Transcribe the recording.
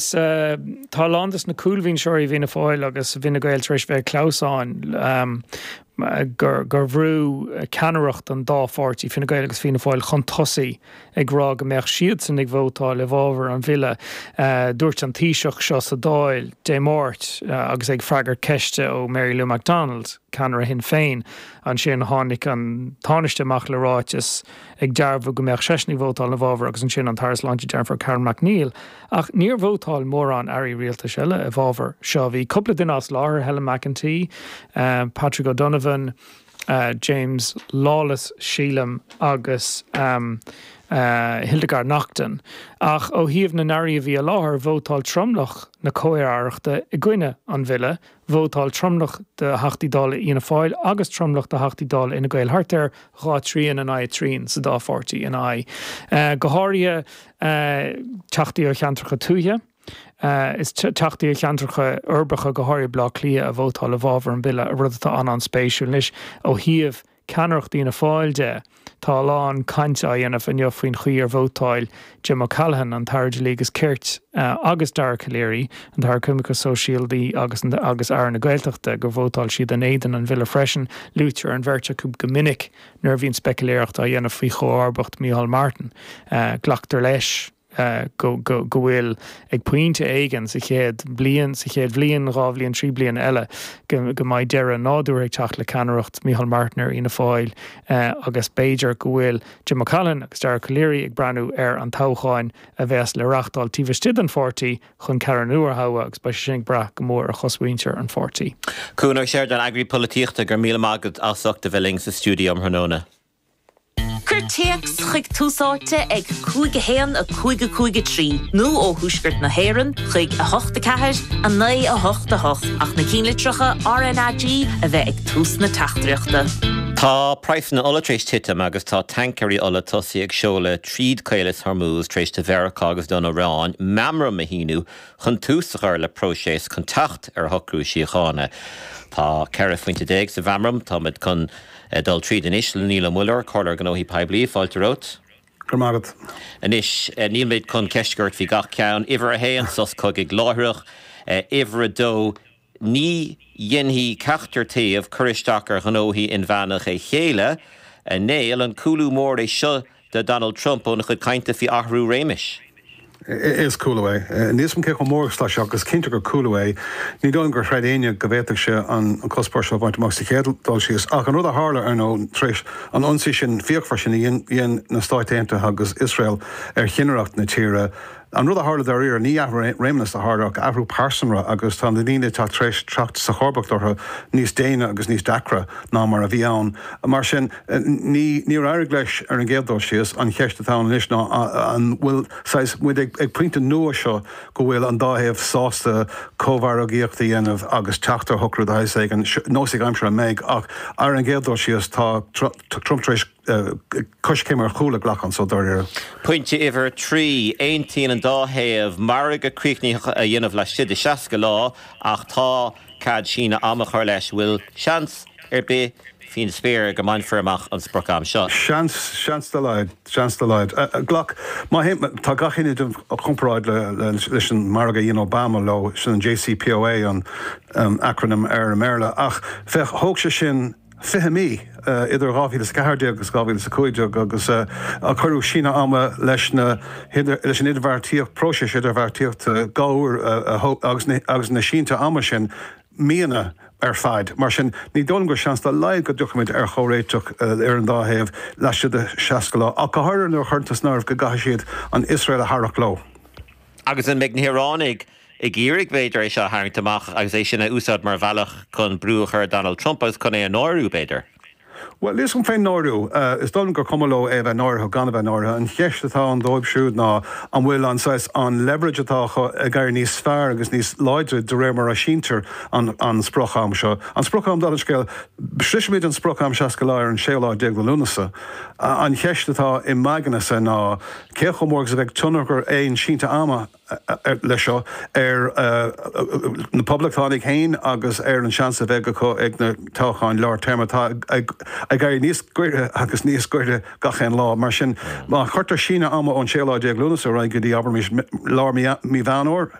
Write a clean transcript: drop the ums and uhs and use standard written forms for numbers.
Tá a lán de na cúlbhinseoirí i bhFianna Fáil agus i bhFine Gael tar éis bheith ag clamhsán gur bhrú ceannaireacht an dá pháirtí, Fine Gael agus Fianna Fáil, chun tosaigh ag rá go mbeadh siadsan ag vótáil i bhfabhar an bhille. Dúirt an Taoiseach seo sa Dáil Dé Máirt agus é ag freagairt ceiste ó Mary Lou McDonald, ceannaire Shinn Féin. Ansin tháinig an Tánaiste amach le ráiteas ag dearbhú go mbeadh seisean ag vótáil ina bhfabhar agus ansin an tAire Sláinte Jennifer Carroll MacNeill. Ach níor vótáil mórán airí rialtais eile i bhfabhar seo. Bhí cúpla duine as láthair, Helen McEntee, Patrick O'Donovan, James Lawless, sílim, agus Hildegarde Naughton. Ach ó thaobh na n-airí a bhí i láthair, vótáil tromlach na comh-aireachta i gcoinne an bhille. Vótáil tromlach de Theachtaí Dála Fhianna Fáil agus tromlach de Theachtaí Dála Fhine Gael, thart ar 2 trian in aghaidh trian sa dá pháirtí, ina aghaidh. Go háirithe Teachtaí ó cheantracha tuaithe is Teachtaí ó cheantracha uirbeacha, go háirithe Baile Átha Cliath, a vótáil i bhfabhar an bhille, rud atá an-an-spéisiúil. Anois, ó thaobh ceannaireacht Fhianna Fáil de, tá a lán cainte á dhéanamh inniu faoin chaoi ar vótáil Jim O'Callaghan, an tAire Dlí agus Cirt, agus Dara Calleary, an tAire Coimirce Sóisialta agus agus Aire na Gaeltachta, gur vótáil siad in éadan an bhille freisin. Luaitear an bheirt acu go minic nuair a bhíonn speicealéireacht á dhéanamh faoi chomharbacht Micheál Martin. Glactar leis go bhfuil, ag pointe éigin sa chéad bliain, sa chéad bhliain, 2 bhliain, 3 bliana eile, go mbeidh deireadh nádúrtha ag teacht le ceannaireacht Micheál Martin ar Fhianna Fáil agus b'fhéidir go bhfuil Jim O'Callaghan agus Dara Calleary ag breathnú ar an toghchán a bheas le reáchtáil taobh istigh den pháirtí chun ceannaire nua a thoghadh agus beidh sé sin ag brath go mór ar chosmhuintir an pháirtí. Cuan Ó Seireadáin, Eagraí Polaitíochta, go raibh míle maith agat as ucht a bheith linn sa stiúideo um thráthnóna. Cuir téacs chuig Tús Áite ag 5 1 5 5 3 nó ó Thuaisceart na hÉireann chuig 8 4 9 8 8 ach na cinnlitreacha RnaG a bheith ag tús na teachtaireachta. Tá praghsanna ola tar éis titim agus tá tancaeirí ola tosaithe ag seoladh tríd Caolas Hormuz tar éis do Mheiriceá agus don Iaráin meamram a shíniú chun tús a chur le próiseas chun teacht ar shocrú síochána. Tá 14 phointe sa mheamram. Táimid chun dul tríd anois le Niall Ó Muilleoir, Comhairleoir Gnóthaí Poiblí. Fáilte romhat. Go raibh maith agat. Anois, nílmid chun ceistiú ort faoi gach ceann. Uimhir a haon, sos cogaidh láithreach. Uimhir a dó, Ní dhéanfaidh ceachtar taobh cur isteach ar ghnóthaí inmheánacha a chéile. A Néill, an cúlú mór é seo do Donald Trump óna chuid cainte faoi athrú réimis? Is cúlú é. Níl 'fhios a'm cé chomh mór is atá sé ach is cinnte gur cúlú é. Ní dóigh liom gur chreid éinne go bhféadfadh sé an cuspóir seo a bhaint amach sa chéad dul síos. Ach an rud a tharla, ar ndóigh, tar éis an ionsaí sin fíochmhar sin a dhein na Stáit Aontaithe agus Iosrael ar chinnireacht na tíre, An rud a tharla dáiríre, ní athrú réimeas a tharla ach athrú pearsanra agus tá na daoine atá tar éis teacht sa chomharbacht orthu níos déine agus níos deacra ná mar a bhí ann. Mar sin, ní, níor éirigh leis ar an gcéad dul síos. An cheist atá ann anois ná an bhfuil saghas muid ag ag pointe nua seo go bhfuil an dá thaobh sásta cómhargaíocht a dhéanamh agus teacht ar shocrú de shaghas éigin. Nósaí aimsire an mbeidh ach ar an gcéad dul síos tá Trump tar éis coiscéim ar chúl a ghlacadh anso dáiríre. Pointe uimhir 3, Aontaíonn an dá thaobh margadh críochnaitheach a dhéanamh laistigh de 60 lá ach tá cead síneadh ama a chur leis. Bhfuil seans ar bith faoin spéir go mbainfear amach an sprioc-am seo? Seans, seans dá laghad, seans dá laghad. Glac, má théann, tá gach éinne ag déanamh comparáid le, leis an margadh a dhein Obama leo, sin an JCPOA an acronym air i mBéarla, ach féach, thóg sé sin, 20 mí idir 2014 agus 2015 agus cuireadh síneadh ama leis na leis an idirbheartaíocht, próiseas idirbheartaíochta dhá uair agus agus na sínte ama sin míonna ar fad. Mar sin, ní dóigh liom gur seans dá laghad go dtiocfaimid ar chomhréiteach ar an dá thaobh laistigh de 60 lá, ach go háirithe nuair a chuireann tú san áireamh go gcaithfidh siad an Iosrael a tharrac leo. Agus an mbeidh na hIoránaigh ag iarraidh, b'fhéidir, é seo a tharraingt amach agus é sin a úsáid mar bhealach chun brú a chur ar Donald Trump agus chun é a náiriú, b'fhéidir? Bhuel, níl 'fhios a'm fén náiriú. Is dóigh liom gur cuma leo é a bheith náirithe nó gan a bheith náirithe. An cheist atá ann dóibh siúd ná an bhfuil an saghas, an leverage atá acu ag éirí níos fearr agus níos láidre de réir mar a síntear an an sprioc-am seo. An sprioc-am, dála an scéil, sroisfimid an sprioc-am 60 lá ar an séú lá déag de Lúnasa. An cheist atá i m'aignese ná cé chomh mór agus a bheidh tionchar aon sínte ama. leis seo ar na Poblachtánaigh féin agus ar an seans a bheidh acu ag na toghcháin lár téarma atá ag éirí níos gaire agus níos gaire gach aon lá. Mar sin, má chuirtear síneadh ama ón 16 lá Lúnasa ar aghaidh go dtí, abraimis, lár mí Mheán Fhómhair,